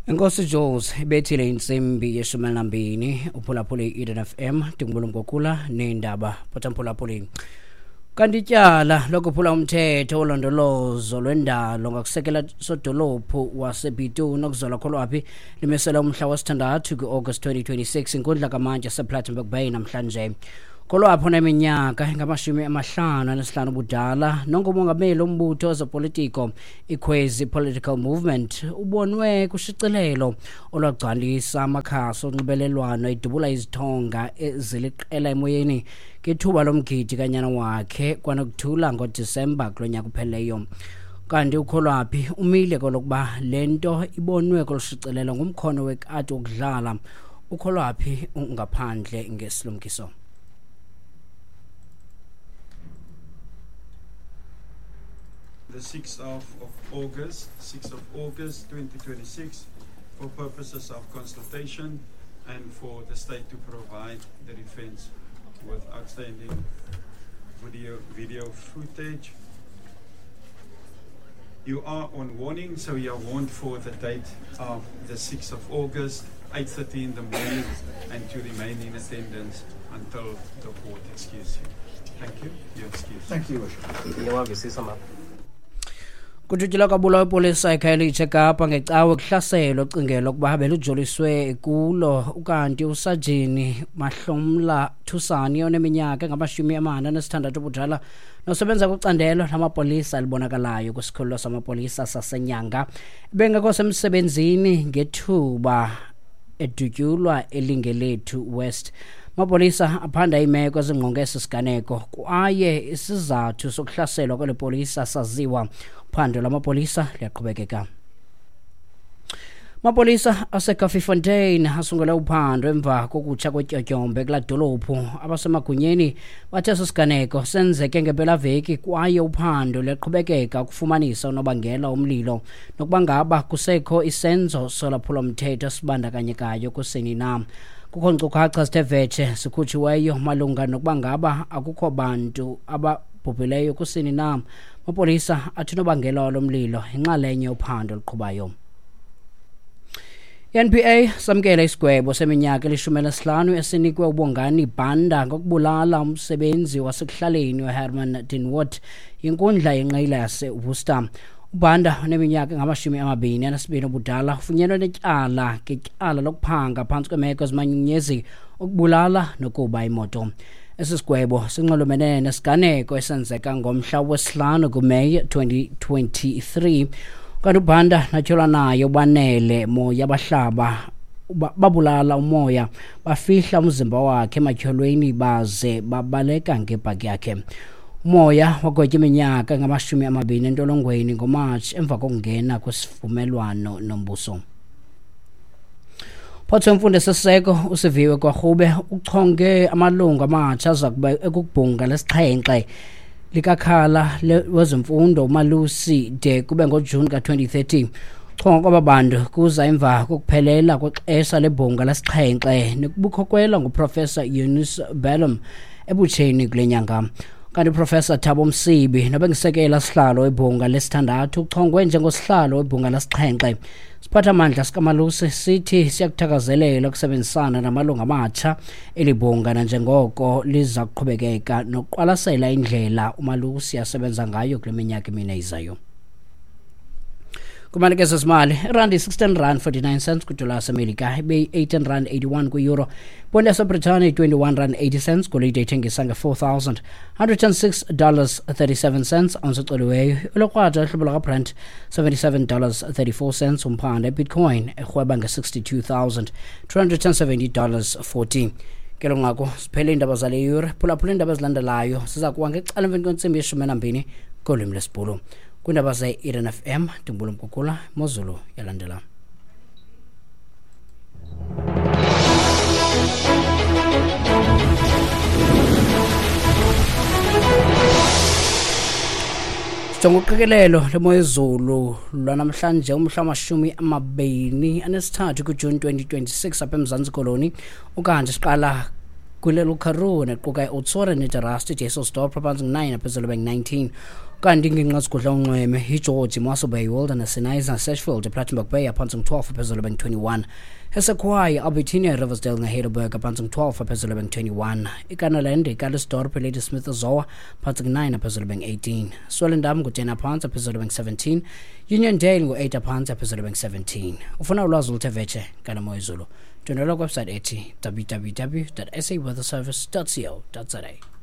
Enkosi Jules, ibethile intsimbi yeshumi elinambini, uphulaphule i-Eden FM, ndingubulumkokula neendaba pothamphulaphuli. Kanti ityala lokuphula umthetho wolondolozo lwendalo ngakusekela sodolophu waseBitou nokuzola Kholwaphi limisela umhla wesithandathu kwi-August 2026 inkundla kamantyi yasePlattenberg Bay namhlanje. Kholwaphi oneminyaka engama-55 ubudala nongumongameli wombutho wezopolitiko iKhwezi Political Movement ubonwe kushicilelo olwagcwalisa amakhasi onxibelelwano edubula izithonga eziliqela emoyeni ngethuba lomgidi kanyana wakhe kwanokuthula ngoDisemba kulo nyaka upheleyo. Kanti uKholwaphi umile kolokuba le nto ibonwe kolu shicilelo ngumkhono wekati wokudlala. UKholwaphi ungaphandle ngesilumkiso. The 6th of August, 6th of August 2026, for purposes of consultation and for the state to provide the defense with outstanding video footage. You are on warning, so you are warned for the date of the 6th of August, 8:30 in the morning, and to remain in attendance until the court excuse you. Thank you. You're excused. Thank you, Worship. Iyawavisisa mama. Kudutyulwa kwabulawa ipolisa eKhayelitsha eKapa ngecawe kuhlaselo ocingelwa ukuba belujoliswe kulo. Ukanti usajini Mahlomla Thusani oneminyaka engama-46 ubudala nosebenza kwicandelo lamapolisa elibonakalayo kwisikhululo samapolisa saseNyanga bengekho semsebenzini ngethuba edutyulwa eLingelethu West. Amapolisa aphanda iimeko ezingqonge esi siganeko kwaye isizathu sokuhlaselwa kweli polisa saziwa. Uphando lwamapolisa liyaqhubekeka. Amapolisa aseKaffiefontein asungule uphando emva kokutsha kwetyotyombe kulaa dolophu. Abasemagunyeni bathe esi siganeko senzeke ngempelaveki kwaye uphando luyaqhubekeka ukufumanisa unobangela womlilo nokuba ngaba kusekho isenzo solwaphulomthetho esibandakanyekayo kusini na. Kukho nkcukacha zithe vetshe zikhutshiweyo malunga nokuba ngaba akukho bantu ababhubhileyo kusini na. Amapolisa athi unobangela walo mlilo yinxalenye yophando oluqhubayo. I-NPA samkela isigwebo seminyaka eli-15 esinikwe uBongani Banda ngokubulala umsebenzi wasekuhlaleni uHerman Dinwood yinkundla yenqila yaseWorcester. UBanda oneminyaka engama-22 ubudala ufunyenwe netyala ngetyala lokuphanga phantsi kweemeko ezimanyunyezi, ukubulala nokuba imoto. Esi sigwebo sinxulumene nesiganeko esenzeka ngomhla wesihlanu kuMeyi 2023. Kanti uBanda natyholwa naye uBanele Moya bahlaba babulala uMoya, bafihla umzimba wakhe ematyholweni baze babaleka ngebhaki yakhe. Umoya wagwetya iminyaka engama-20 entolongweni ngoMatshi emva kokungena kwisivumelwano nombuso. Phatho wemfundo esiseko uSiviwe Gwarube uchonge amalungu amatsha aza kuba ekubhunga lesixhenxe likakhala wezemfundo uMalusi de kube ngoJuni ka-2030. Chonga kwaba bantu kuza emva kokuphelela kwexesha lebhunga lesixhenxe nekubukhokelwa nguProfessor Eunice Bellum ebutsheni kule nyanga. Kanti uProfessor Thabo Msibi nobengisekela sihlalo webhunga lesithandathu uchongwe njengosihlalo webhunga lesixhenxe. Siphathamandla sikaMalusi sithi siyakuthakazelela ukusebenzisana namalungu amatsha elibhunga nanjengoko liza kuqhubekeka nokuqwalasela indlela uMalusi asebenza ngayo kule minyaka emine izayo. Kumanike zezimali, irandi 16 rand 49 cents kwidola yaseMelika, ibeyi-18 rand 81 kwi-euro, iponti yaseBritane 21 rand 80 cents, golide ithengisa nge-$4,106 37 cents ounce ecoliweyo, ilokrwada uhlobo lwakaBrent $77 34 cents umphanda, ibitcoin erhweba nge-$62,270 40. Ke lo nqaku siphele iindaba zale yure. Phulaphula iindaba ezilandelayo ziza kuwa ngecala emveni kwentsimbi yeshumi enambini kolwimi lwesiBhulu. Kwiindaba ze-Eden FM ndingubulumkukula mozulu yalandela. Sijonga uqikelelo lemo yezulu lwanamhlanje umhla wama-23 kuJuni 2026 apha eMzantsi Koloni. Ukanti siqala kwilelo Karoo nequka iOutsori neDarasti, Dysselsdorp phantsi ngu-9 phezulu bengu-19. Kanti iingingqi ezigudla unxweme iGeorge, Mossel Bay, Wilderness, Knysna, Sedgefield, ePlattenberg Bay aphantsi ngu-12 phezulu bengu-21. EseKhwayi, Albertinia, Riversdale neHeidelberg aphantsi ngu-12 phezulu bengu-21. IKanaland, iCalitzdorp, iLadysmith, Zoa phantsi ngu-9 phezulu bengu-18. Swellendam ngu-10 aphantsi phezulu bengu-17. Uniondale ngu-8 aphantsi phezulu bengu-17. Ufuna ulwazi oluthe vetshe ngale moyezulu? Ndwendwela kwiwebsite ethi www.saweatherservice.co.za.